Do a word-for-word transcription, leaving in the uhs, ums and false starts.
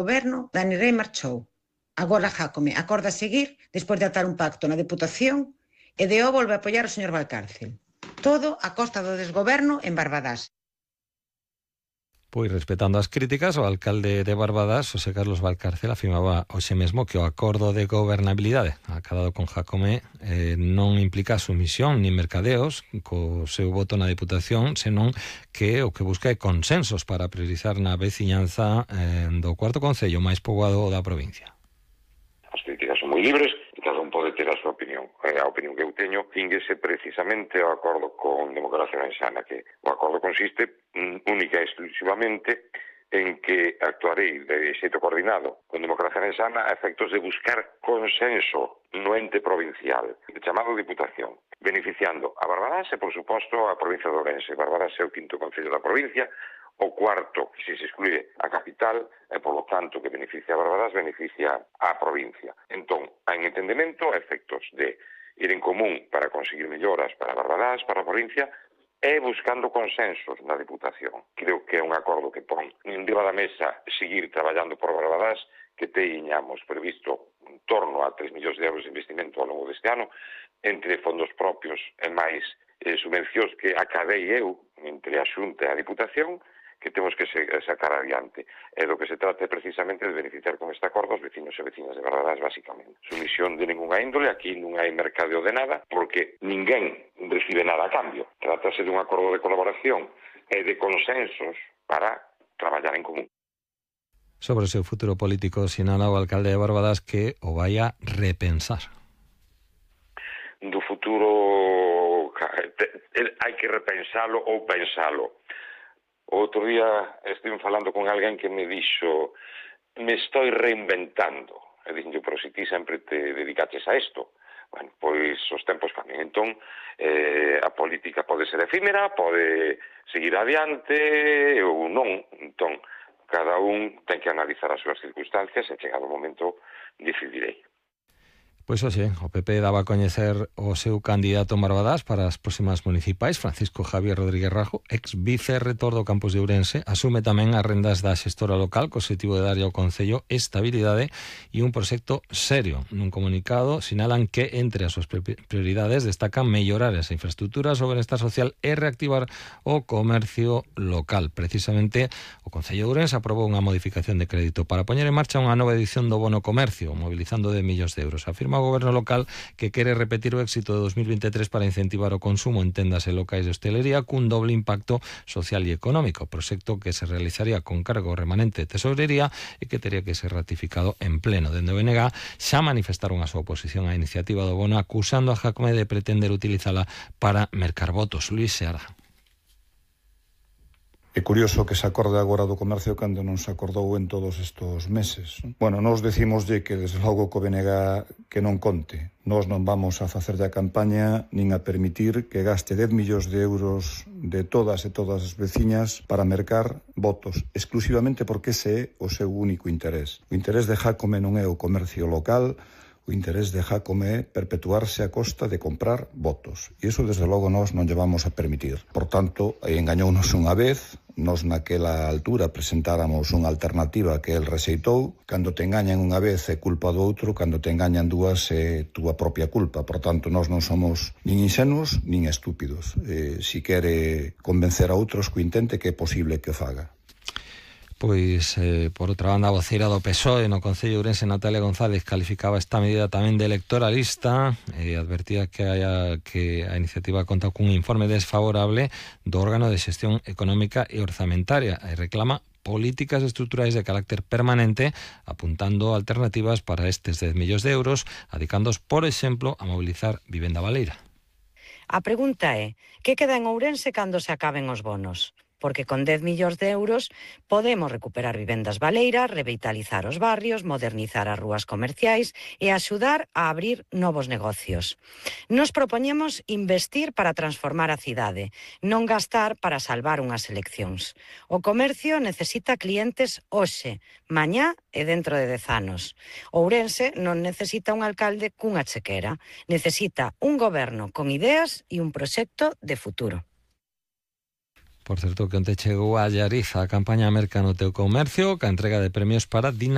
Goberno, Dani Rei marchou. Agora Jácome acorda seguir despois de atar un pacto na Deputación e de o volve a apoiar o señor Valcárcel. Todo a costa do desgoberno en Barbadás. Pois respetando as críticas, o alcalde de Barbadás, José Carlos Valcárcel, afirmaba hoxe mesmo que o acordo de gobernabilidade acadado con Jácome eh, non implica sumisión nin mercadeos co seu voto na Deputación, senón que o que busca é consensos para priorizar na veciñanza eh, do cuarto concello máis poboado da provincia. As críticas son moi libres e cada un pode ter a súa opinión. A opinión que eu teño cínguese precisamente ao acordo con Democracia Gansana, que o acordo consiste única e exclusivamente en que actuarei de xeito coordinado con Democracia Gansana a efectos de buscar consenso no ente provincial, chamado Diputación, beneficiando a Barbadás e, por suposto, a provincia de Ourense. Barbadás é o quinto concello da provincia, o cuarto, se se excluye a capital, e, por lo tanto, que beneficia a Barbadás, beneficia a provincia. Entón, en entendemento, a efectos de ir en común para conseguir melloras para Barbadás, para a provincia, e buscando consensos na Deputación. Creo que é un acordo que pon en riba da mesa seguir traballando por Barbadás, que teñamos previsto en torno a tres millóns de euros de investimento ao longo deste ano, entre fondos propios e máis eh, subvencións que acadei eu entre a Xunta e a Deputación, que temos que sacar adiante. E do que se trata é precisamente de beneficiar con este acordo os vecinos e vecinas de Barbadás, basicamente. Sumisión de ninguna índole, aquí non hai mercadeo de nada, porque ninguén recibe nada a cambio. Trátase de un acordo de colaboración e de consensos para traballar en común. Sobre o seu futuro político, sinala o alcalde de Barbadás que o vai a repensar. Do futuro hai que repensalo ou pensalo. Outro día estive falando con alguén que me dixo me estou reinventando. E dixen, pero se ti sempre te dedicaches a isto. Bueno, pois os tempos cambian. Entón, eh, a política pode ser efímera, pode seguir adiante ou non. Entón, cada un ten que analizar as súas circunstancias e chegado o momento decidirei. Pois hoxe, o P P daba a coñecer o seu candidato en Barbadás para as próximas municipais, Francisco Javier Rodríguez Rajo, ex vicerretor do campus de Ourense, asume tamén as rendas da xestora local co objetivo de darlle ao concello estabilidade e un proxecto serio. Nun comunicado sinalan que entre as súas prioridades destacan mellorar as infraestructuras, o benestar social e reactivar o comercio local. Precisamente, o Concello de Ourense aprobou unha modificación de crédito para poñer en marcha unha nova edición do bono comercio, mobilizando de millóns de euros. Afirma o Goberno local que quere repetir o éxito de dos mil veintitrés para incentivar o consumo en tendas e locais de hostelería cun doble impacto social e económico, proxecto que se realizaría con cargo remanente de tesorería e que teria que ser ratificado en pleno. Dende o B N G xa manifestaron a súa oposición á iniciativa do bono, acusando a Jácome de pretender utilizala para mercar votos. Luís Seara. É curioso que se acorde agora do comercio cando non se acordou en todos estes meses. Bueno, nós decimoslle que desde logo co B N G que non conte. Nós non vamos a facerlle a campaña nin a permitir que gaste dez millóns de euros de todas e todas as veciñas para mercar votos, exclusivamente porque ese é o seu único interés. O interés de Jácome non é o comercio local, o interés de Jácome é perpetuarse a costa de comprar votos. E iso, desde logo, nós non lle vamos a permitir. Por tanto, engañounos unha vez, nós naquela altura presentáramos unha alternativa que el rexeitou. Cando te engañan unha vez é culpa do outro, cando te engañan dúas é túa propia culpa. Por tanto, nós non somos nin insenuos nin estúpidos. Eh, si quere convencer a outros que intente, que é posible que o faga. Pois, eh, por outra banda, a voceira do P S O E no Concello de Ourense, Natalia González, calificaba esta medida tamén de electoralista e advertía que, haya, que a iniciativa conta cun informe desfavorable do órgano de xestión económica e orzamentaria e reclama políticas estruturais de carácter permanente, apuntando alternativas para estes dez millóns de euros, adicándoos, por exemplo, a mobilizar vivenda baleira. A pregunta é, que queda en Ourense cando se acaben os bonos? Porque con dez millóns de euros podemos recuperar vivendas baleiras, revitalizar os barrios, modernizar as rúas comerciais e axudar a abrir novos negocios. Nos propoñemos investir para transformar a cidade, non gastar para salvar unhas eleccións. O comercio necesita clientes hoxe, mañá e dentro de dez anos. Ourense non necesita un alcalde cunha chequera, necesita un goberno con ideas e un proxecto de futuro. Por certo, que onte chegou a Allariz a campaña Merca no teu comercio, ca entrega de premios para Dina